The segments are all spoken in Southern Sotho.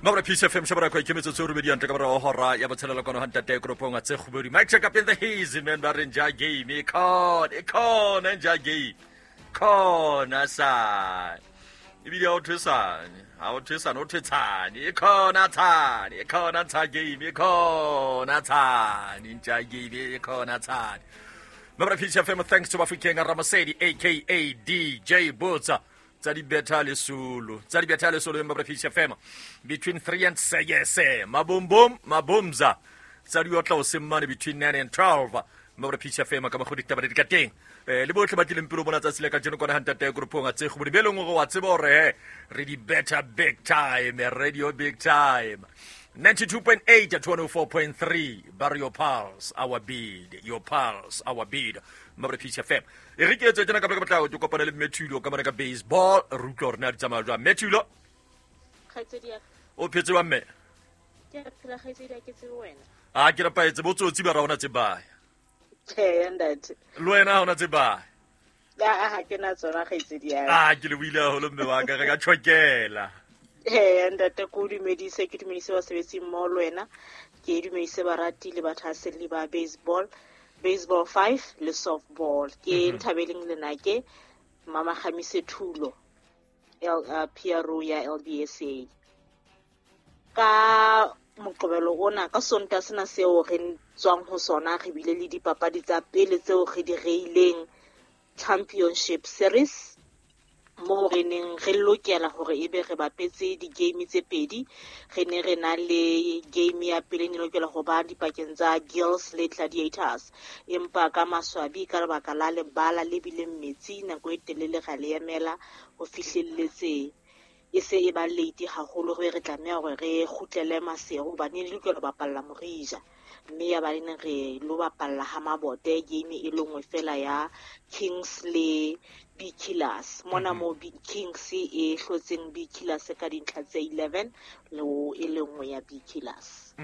Mabra Peace FM shabara kwa ikemetso tse robedi antle ka morago hora ya botshelela kwano ha ntate koropong a tse kgobedi. Mike check up in the haze man ba re nja game e khona e khona nja game. Khona sa. Ebile ha o thwe sane, ha o thwe sane o thwe tshane e khona tshane e khona tsha game e khona tshane nja game e khona tshane. Mabra Peace FM thanks to Bafokeng Ramasedi aka DJ Botsa. Tsa dibetha lesolo tsa dibetha lesolo empa Peace FM between 3 and 6 mabombom mabomza tsa di otla o semmane between 9 and 12 mabra Peace FM ka mogodi taba di ka teng. Le botlhe ba tlileng pele bona tsatsi le ka jeno kona hantate groupong a tse go be leng gore wa tseba hore he re di better big time radio big time. 92.8 at 104.3 bar your pulse our beat your pulse our beat. Mabra Peace FM e re ke etse tjena ka ka potlako ke kopane le Mmethulo ka mona ka baseball re utlwa hore na di tsamaya jwang. Mmethulo Kgaitsedi ya o phetse wa mme? Ke a phela kgaitsedi ya ke tsebe wena. A ke rapaetse botsotsi ba ra ona tsebaya. Tjhe, ntate. Le wena ha ona tsebaya. A ha ke na tsona kgaitsedi ya. A ke le buile haholo mme wa ka re ka tjhokela. Ee, ntate ke o dumedise, ke dumedise basebetsi mmoho le wena. Ke dumedise barati le bathahaselli ba baseball, baseball 5 le softball. Ke Nthabeleng Lenake, Mama Kgamise Thulo, PRO ya LBSA. Ka moqebelo ona, ka Sontaha sena seo re tswang ho sona, re bile le dipapadi tsa pele tseo re di reileng Championship Series, moo re neng re lokela hore ebe re bapetse di-game tse pedi. Re ne re na le game ya pele ne lokela ho ba dipakeng tsa Girls le Gladiators, empa ka maswabi ka lebaka la lebala le bileng metsi nako e telele ra le emela ho fihlelletse e se e ba late haholo, re tlameha hore re kgutlele Maseru hobane ne lokela ho bapalla Morija, mme ya ba ne re lo bapalla ha Mabote game e le nngwe fela ya Kings le B Killers. Mona mo B Kings e hlotseng B Killers ka dintlha tse 11 le e le nngwe ya B Killers.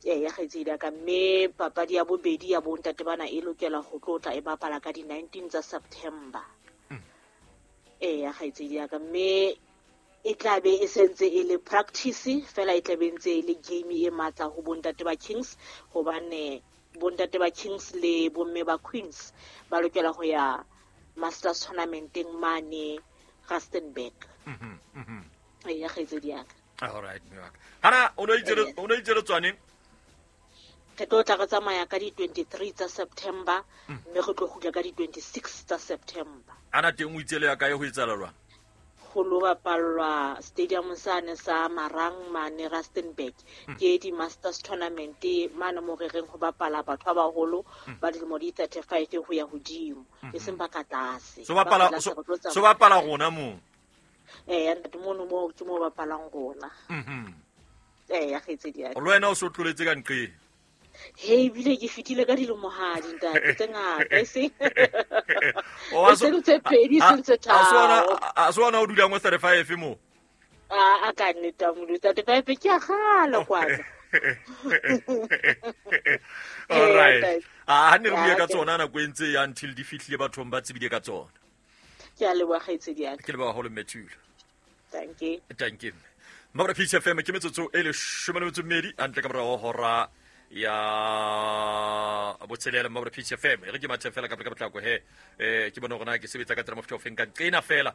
Ee, ya kgaitsedi ya ka. Mme papadi ya bobedi ya bontate bana e lokela ho tlo tla e bapala ka di-19 tsa September. Ee, ya kgaitsedi ya ka. Mme e tla be e sentse e le practice fela, e tla be ntse e le game e matla ho bontate ba Kings, hobane bontate ba Kings le bomme ba Queens ba lokela ho ya Masters tournamenteng mane Rustenburg. Ee, ya kgaitsedi ya ka. All right, mme wa ka. Hana o no itse o no itse le tswaneng? Re tlo tla re tsamaya ka di-23 tsa September, mme re tlo kgutla ka di-26 tsa September. Ana teng o itse le ya kae ho etsahala jwang? Ho lo bapallwa stadium sane sa Marang mane Rustenburg. Ke di-Masters tournament mane mo re reng ho bapala batho ba baholo ba dilemo di 35 ho ya hodimo, e seng ba ka tlase. So bapala so bapala rona moo. Ee, ntate mono moo ke mo bapalang rona. Ee, ya kgaitsedi ya ka. Le wena o so tloletse ka nqeng? He, ebile ke fetile ka dilemohadi ntate tse ngata, e seng e seng tse pedi, e seng tse tharo. A se ona o dulang o 35 mo? A ka nnete a Modimo, 35 ke a kgale kwata. All right. A ne re bue ka tsona nako e ntse ya until di fihlile bathong ba tsebile ka tsona. Ke a leboha kgaitsedi ya ka. Ke leboha haholo Mmethulo. Thank you. Thank you. Mabra Peace FM ke metsotso e leshome le metso e mmedi hantle ka morao hora ya botshelela. Mabra Peace FM e re ke mathe fela ka pele ka potlako he ke bone hore na ke sebetsa ka tsela mofuta ofeng ka nqena fela.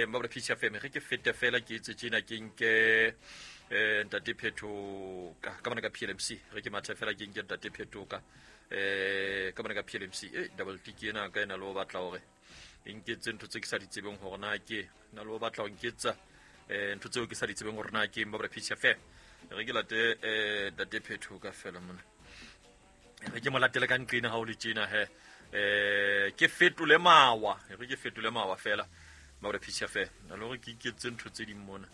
Mabra Peace FM re ke fete fela ke etse tjena ke nke ntate Phetoka ka bona ka PLMC. Re ke mathe fela ke nke ntate Phetoka ka bona ka PLMC. Double tick ena ka ena le o batla hore e nketse ntho tse ke sa di tsebeng hore na ke na le o batla ho nketsa ntho tseo ke sa di tsebeng hore na ke Mabra Peace FM. Re ke late ntate Phetoka fela mona. Re ke mo latele ka nqena ha o le tjena he. Ke fetole mawa, re ke fetole mawa fela Mabra Peace FM. Na le hore ke iketse ntho tse ding mona.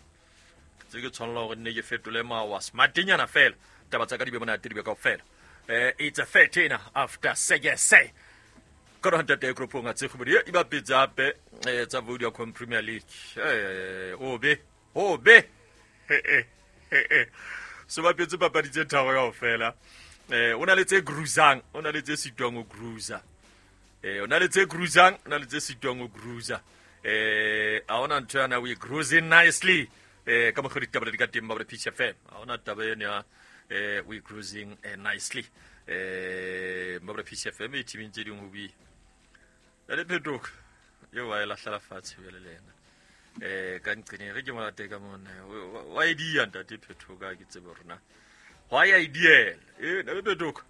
Tse ke tshwanela hore nne ke fetole mawa smartenyana fela. Taba tsa ka di be monate di be kaofela. It's a 13 after 6. Ka hore ntate Kropong a tse kgobedi e bapetse hape tsa Vodacom Premier League. Obe obe so bapetse papadi tse tharo kaofela. O na le tse gruzang, o na le tse sitwang ho gruza. O na le tse gruzang, o na le tse sitwang ho gruza. A hona ntho yana we gruzing nicely. Ka mokgwa ditaba di ka teng ba Peace FM. Ha hona taba eno ya we cruising nicely. Ba Peace FM e teaming tse ding ho bue. Le phetoka. Eo wa e lahlela fatshe jwale le yena. Ka nqene re ke molate ka mona. Wa e dia ntate phetoka ke tsebe rona. Hwa ya e diela. Le phetoka.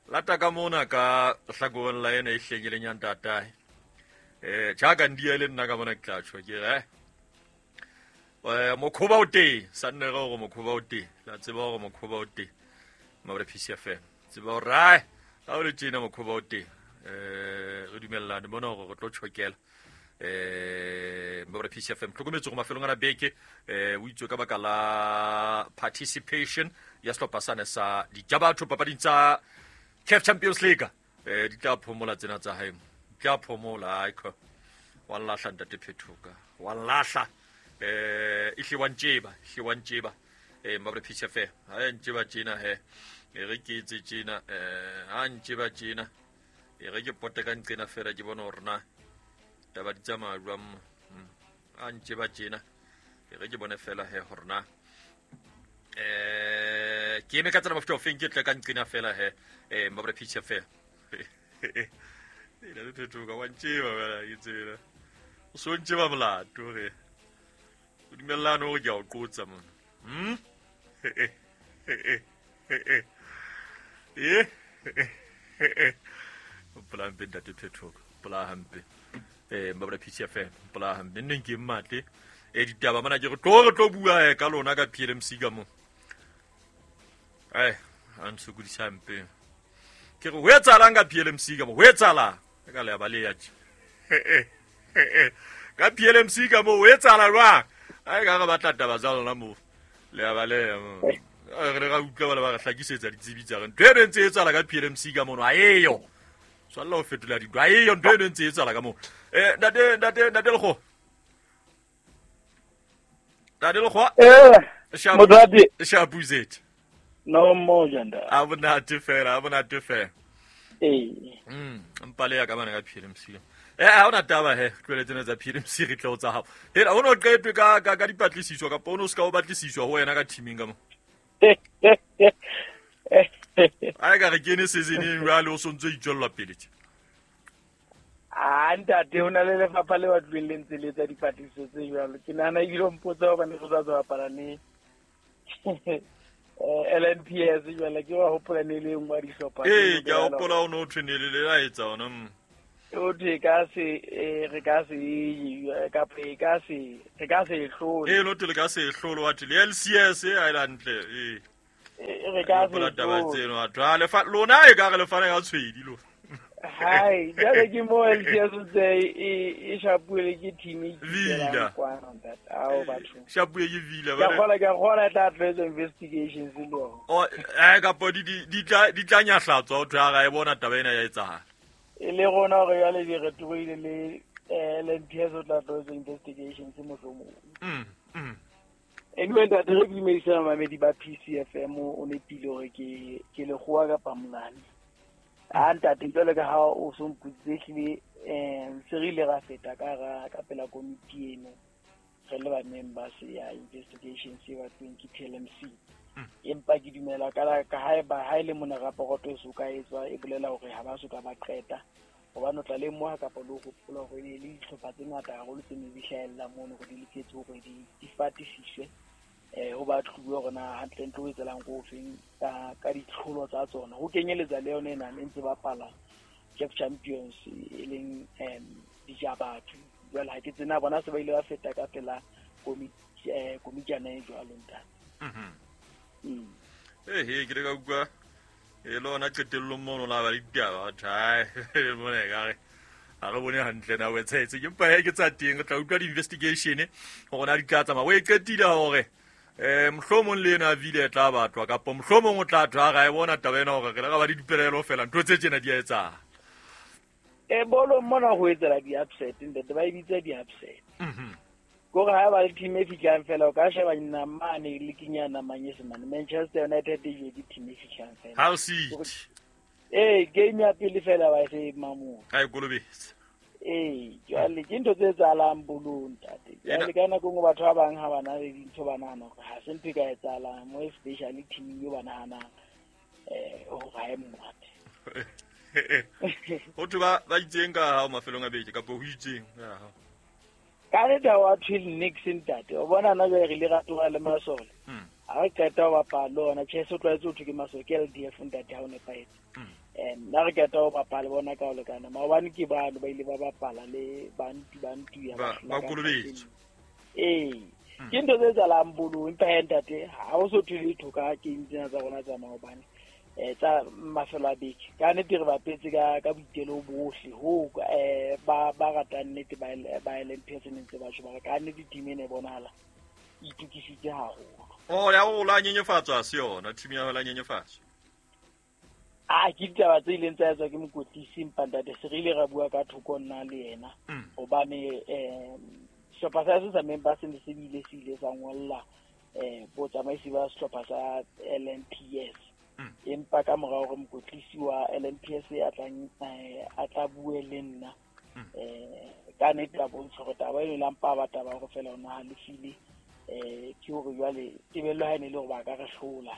Lata ka mona ka hlakoreng la ena e hlengileng ya ntatae. Jaaka ndia le nna ka mona ke tla tjho ke re mokhoba o teng sa nne re hore mokhoba o teng la tseba hore mokhoba o teng mabra Peace FM tseba hore ai ha o le tjena mokhoba o teng re dumellane bona hore re tlo tjhokela mabra Peace FM tlhokometse go mafelong ana beke o itswe ka baka la participation ya sehlopha sane sa dijabatho papading tsa CAF Champions League. Di tla phomola tsena tsa hae, di tla phomola aikho wa lahla ntate Phetoka wa lahla e hle wa ntjeba mabra Peace FM ha ntjeba tjena he re ke etse tjena ha ntjeba tjena re ke pote ka nqena fela ke bona hore na taba di tsamaya jwang ha ntjeba tjena re ke bone fela he hore na ke eme ka tsela mofuta ofeng ke tle ka nqena fela he mabra Peace FM ena le phetoka wa ntjeba fela ke tsela o so ntjeba molato re o dumellane hore ke a o qotsa mona. Pola hampe ntate Phetoka pola hampe mabra Peace FM pola hampe nneng ke mmatle ditaba mona ke re tlo bua ka lona ka PLMC ka mo a ntshokodisa hampe ke re ho etsahalang ka PLMC ka mo ho etsahalang ka le ya ba le ya tje ka PLMC ka mo ho etsahala jwang a ka re batla taba tsa lona mo le ya ba le re ra utlwa ba le ba re hlakisetsa ditsebi tsa re ntho e ntse e etsahala ka PLMC ka mono a eyo tshwanela ho fetola dintho a eyo ntho e ntse e etsahala ka mo ntate Lekgowa ntate Lekgowa shapu zet no moja nda a bonate fela mpa le ya ka bana ka PLMC ha ona taba he tlwele tsena tsa PLMC re tlo tsa hao hela o no qetwe ka ka dipatlisiso kapa o no ska o batlisiswa ho wena ka teaming ka mo a ka re kene seasoneng jwale o sontse itswella pele tje a ntate ho na le lefapha le batlweng le ntse le etsa dipatlisiso tse jwalo ke nahana ebile o mpotsa hobane re sa tswa bapala le LNPS jwale ke wa hopola ne le nngwe ya dihlopha ke a hopola o no thwe ne le la etsa ona o thwe ka se re ka se kapa e ka se re ka se hlole no thwe le ka se hlole wa thwe le LCS a ile hantle re ka se taba tseno atho le fa lona e ka re le fana ka tshwedi lo hai jwale ke mo LCS tse e shapuele ke team e Vila kwana ntate ao batho shapuele ke Vila ba ke gola tla tlo investigations le o ka po di tla nyahlatswa o thwa ga e bona taba ena ya etsahala e le rona hore jwale di re tloile le LNPS o tla tlo investigations mohlomong anyway ntate re dumedisa mamedi ba PCFM o nepile hore ke Lekgowa kapa Molane a ntate jwale ka ha o so mpoditse ehlile se re ile ra feta ka pela komiti eno re le ba members ya investigations e batlweng ke PLMC empa ke dumela ka haeba ha ile mona raporoto e so ka etswa e bolela hore ha ba so ka ba qeta hobane o tla lemoha kapa le ho hopola hore e le dihlopha tse ngata haholo tse ne di hlahella mono hore di loketse hore di fatisiswe ho batluwe hore na hantlentle ho etsalang ko ofeng ka ditlholo tsa tsona ho kenyeletsa le yona ena e ntse bapala CAF Champions e leng dijabatho jwale ha ke tsena bona se ba ile ba feta ka pela komitjana e jwalo ntate. Ke le ka utlwa e lona qetellong mono la ba le ditaba batho mona ekare ha re bone hantle na website ke mpa ke tsa teng re tla utlwa di-investigation hore na di tla tsamaya o e qetile hore mohlomong le ena vile e tla batlwa kapa mohlomong o tla thwa ga e bona taba ena hore re le ga ba di dipelaelo fela ntho tse tjena di a etsahala bolo mona ho etsela di-upset ntate ba e bitsa di-upset kore ha ba le team e fihlang fela o ka sheba namane le kenyana manyesemane Manchester United e ke team e fihlang fela Hull City game ya pele fela ba se mamola a e kolobetse Ee, jwale ke ntho tse etsahalang bolong, ntate. Jwale ka nako e nngwe batho ba bang ha ba na le dintho ba nahana hore ha se ntho e ka etsahalang, mo especially team eo ba nahanang hore ha e monate. Ho thwe ba itseng ka hao mafelong a beke kapa ho itseng ka hao? Ka nnete ha wa thwe nix, ntate. O bona na jwale re ile ra tloha le masole. Ha re qeta ho bapala le ona, tjhe, se tlwaetse ho thwe ke masole, ke LDF, ntate, ha o nepahetse. Nna re qeta ho bapala bona ka ho lekana. Maobane ke bano ba ile ba bapala le bantu, bantu ya Ba ba hlola ka kolobetso. Ee. Ke ntho tse etsahalang bolong, empa he, ntate, ha o so thwe letho ka game tsena tsa rona tsa maobane. Tsa mafelo a beke. Ka nnete re bapetse ka boitelo bohle ho ba ratang nnete ba LNPS ne ntse ba tjho ba re ka nnete team ena e bonahala e itokisitse haholo. Oh, ya o la nyenyefatswa se yona team ya la nyenyefatswa. A ke ditaba tse ileng tsa etswa ke mokwetlisi, empa ntate se re ile ra bua ka thoko nna le yena. Hobane sehlopha sa se sa member se ne se bile se ile sa ngolla botsamaisi ba sehlopha sa LNPS. Empa ka mora hore mokwetlisi wa LNPS a tlang, a tla bue le nna, ka nnete a bontsha hore taba eno e la mpa ba taba hore fela o na halefile, ke hore jwale tebello ha e ne le hore ba ka re hlola.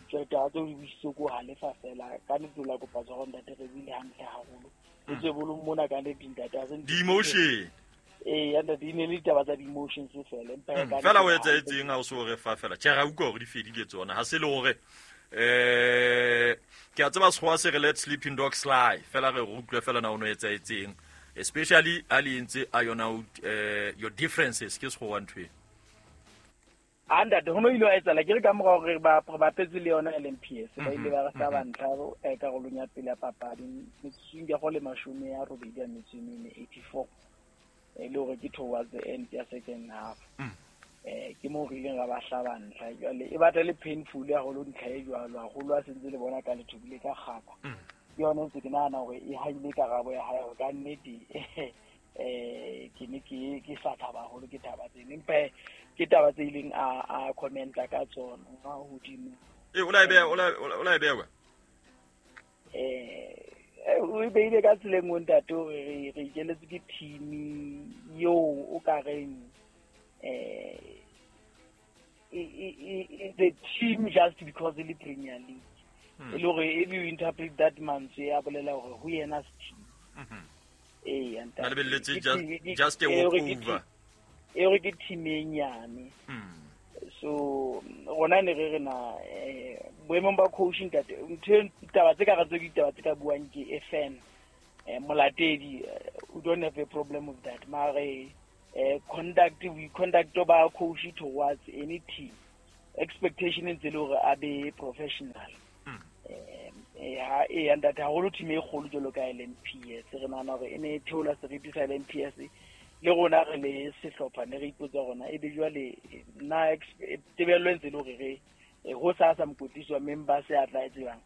Jwale taba tseo di buisitswe ke ho halefa fela. Ka nnete o la kopa tshwaro, ntate, re buile hantle haholo. Le tswe bolong mona ka nnete, ntate, ha se ntho Di-emotion. Ee, ya ntate, e ne le ditaba tsa di-emotions fela, empa ka nnete Fela o ha etsahetseng ha o so re fa fela. Tjhe, ra utlwa hore di fedile tsona. Ha se le hore ke a tseba sekgowa se re let sleeping dogs lie. Fela re utlwe fela na o no etsahetseng. Especially ha le entse iron out your differences ke sekgowa ntho e. A ntate, ho no ile wa etsahala ke re ka mora hore re bapetse le yona LNPS, ba ile ba re hlaba ntlha karolong ya pele ya papadi metsotsong ya go le 84, 84, e le hore ke towards the end ya second half. Ke moo re ileng ra ba hlaba ntlha. Jwale e batla le painful haholo ntlha e jwalo, haholo ha sentse le bona ka lethobile ka kgaka. Ke yona ntse ke nahana hore e haile karabo ya hae hore ka nnete, ke ne ke sa thaba haholo ke taba tseno, empa ke taba tse ileng a commenta ka tsona hodimo. E, o la e beha, o la e beha kwa? O e beile ka tsela e nngwe, ntate, hore re ikeletse ke team eo o ka reng, the team just because e le Premier League. E le hore if you interpret that mantswe a bolela hore ho yena se team. Ee, ntate. Na lebelletse Ke team, just a e hore ke walkover. team, e hore ke team e nyane. So rona ne re re na, boemong ba coach, ntate, ntho e, taba tse ka re tse ditaba tse ka buang ke e fan, molatedi, we don't have a problem with that. Mare conduct, we conduct ba coach towards any team, expectation e ntse le hore a be professional. Ha e ntate, haholo team e kgolo jwalo ka LNPS, re nahana hore e ne e theola seriti sa LNPS, le rona re le sehlopha ne re ipotsa rona e be jwale na tebello e ntse le hore re ho sa sa mokwetlisi wa members a tla e tsebang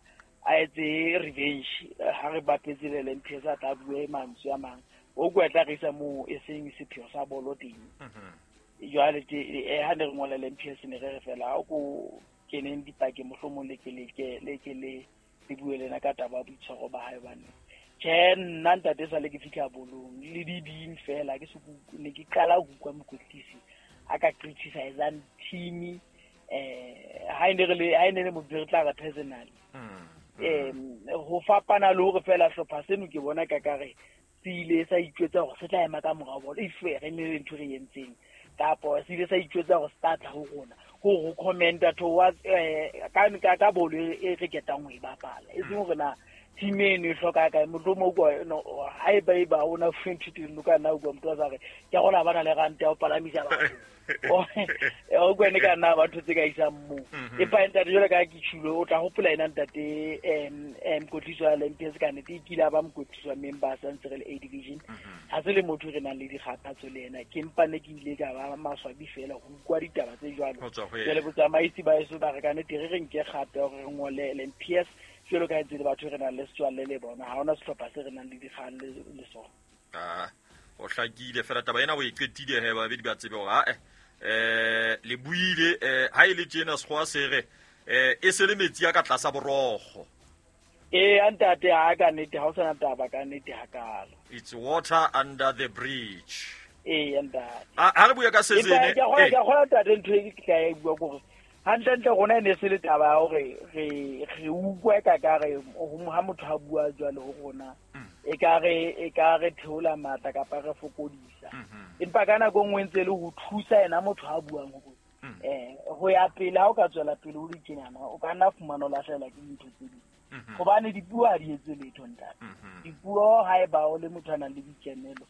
a etse revenge, ha re bapetse le LNPS a tla bue mantswe a mang o kwa tla re isa moo e seng sepheo sa bolo teng. Jwale ha ne re ngola LNPS ne re re fela ha o ko keneng dipakeng, mohlomong le ke le ke le ke le le bue lena ka taba ya boitshwaro ba hae, hobane tjhe, nna ntate sale ke fihla bolong le dibing fela ke se ne ke qala ho utlwa mokwetlisi a ka criticizang team, ha e ne re le, ha e ne le motho re tla re personally. Ho fapana le hore fela hlopha seno ke bona ka kare se ile sa itjwetsa hore se tla ema ka morao bolo if re ne le ntho re entseng, kapa se ile sa itjwetsa hore se tla tla ho rona ho commenta towards ka bolo e re ketang ho e bapala, e seng hore na team eno e hloka kae. Mohlomong o kwa, no, ha e ba e ba o na fuwe ntho teng, o ka nna utlwa motho a sa re ke a kgona ba na le ranta ya ho palamisa batho. O kwene ka nna ba ntho tse ka isang moo. Empa ntate, jwalo ka ha ke tjhulo, o tla hopola ena ntate, mokwetlisi wa LNPS ka nnete e kile a ba mokwetlisi wa members a ntse re le A division. Ha se le motho re nang le dikgathatso le yena, ke mpa ne ke ile ka ba maswabi fela ho utlwa ditaba tse jwalo. Ho tswa ho yena. Jwale botsamaisi ba heso ba re ka nnete re re nke kgato ya hore re ngole LNPS jwalo ka ha ntse le batho re nang le setswalle le bona, ha hona sehlopha se re nang le dikgang le sona. O hlakile fela taba ena o e qetile he, babedi ba tsebe hore ha le buile, ha e le tjena sekgowa se re, e se le metsi a ka tlasa borokgo. Ee, ntate, ha ka nnete ha o sana taba ka nnete hakalo. It's water under the bridge. Ee, ntate. Ha re bua ka season, ke a kgona ntate, ntho e ke tla e bua kore hantlentle rona e ne se le taba ya hore re utlwe ka kare ha motho a bua jwalo ho rona e ka re theola matla kapa re fokodisa. Empa ka nako e nngwe ntse le ho thusa yena motho a buang hore ho ya pele, ha o ka tswela pele o le tjenana o ka nna fumana o lahlehelwa ke dintho tse ding. Hobane dipuo ha di etse letho ntate. Dipuo ha eba o le motho a nang le boikemelo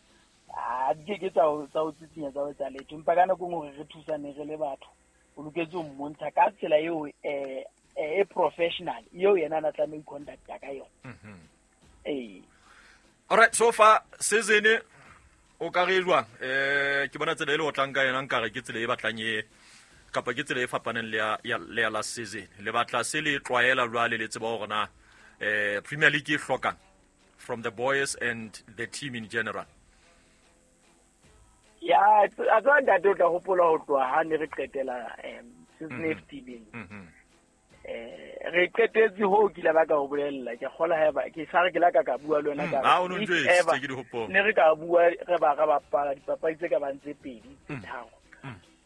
a di keke tsa ho tsitsinya tsa ho etsa letho. Empa ka nako e nngwe hore re thusane re le batho, o loketse ho mmontsha ka tsela eo e professional eo yena a na tlameha ho conducta ka yona. Ee. Alright, so far season o ka re jwang? Ke bona tsela e le otlang ka yona, nkare ke tsela e batlang e kapa ke tsela e fapaneng le ya last season. Le batla se le tlwaela jwale, le tseba hore na Premier League e hlokang from the boys and the team in general. Ya, a tswa ntate, o tla hopola ho tloha ha ne re qetela season e fetileng. Re qetetse ho kile ba ka ho bolella, ke kgola haeba ke sa re ke la ka bua le wena ka re ne re ka bua re ba re bapala dipapadi tse ka bang tse pedi tse tharo.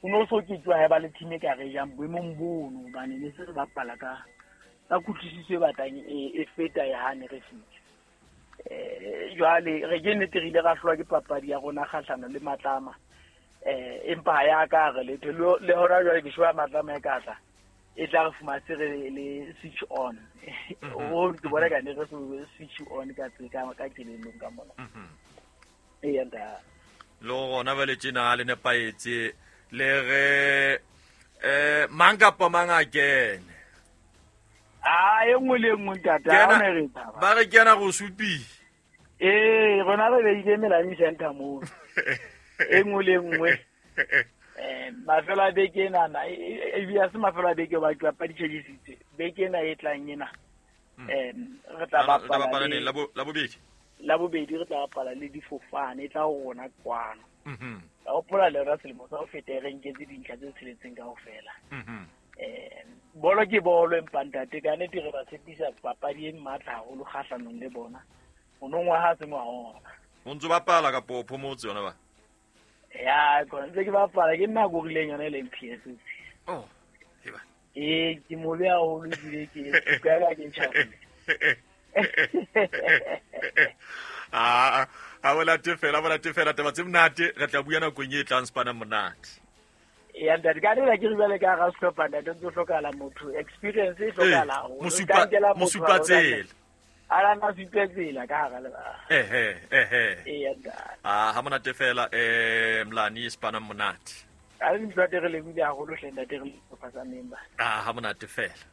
O no so ke tswa haeba le team e ka re jang boemong bono, hobane ne se re bapala ka kutlwisiso e batlang e feta ya ha ne re fihla. Jwale re ke nnete re ile ra hlolwa ke papadi ya rona kgahlano le Matlama. Empa ya ka re letho le hona jwale ke shwa Matlama e ka tla e tla re fumana se re le switch on. O ke bona ka ne re switch on ka ka kelellong ka mona. Ee, ntate. Le rona ba le tjena le nepahetse le re mang kapa mang a kene. A e nngwe le nngwe ntate, ha o ne re tshaba. Ba re kena go supi. Ee, rona re beile Melanie Center moo. E nngwe le nngwe. Mafelo a beke enana, ebile ha se mafelo a beke ba dipapadi tjhekisitse. Beke ena e tlang ena. Re tla bapala le Labobedi. Labobedi re tla bapala le difofane, e tla ho rona kwano. Ka hopola le rona selemo sa ho feta re nketse dintlha tse tsheletseng kaofela. Bolo ke bolo, empa ntate ka nnete re ba tshepisa papadi e matla haholo kgahlanong le bona. Monongwaha ha se ngwahola. O ntso bapala kapa o phomotse yona ba? Ya, kona ntse ke bapala, ke nna korileng yona e leng PS. Oh, eba. Ee, ke mobe haholo ebile ke ka ke ntjhafile. A bolate fela taba tse monate, re tla bua nakong e tlang Spana monate. Ya ntate, ka nna ke re jwale ka hara sehlopha ntate, ntse hlokahala motho, experience e hlokahala haholo. Mosupa tsela. A na supe tsela ka hara lebala. Ehe. Ee, ntate. Ha monate fela Mlani Spana monate. A re ntate re lebile haholo hle ntate, re le sehlopha sa member. Ha monate fela.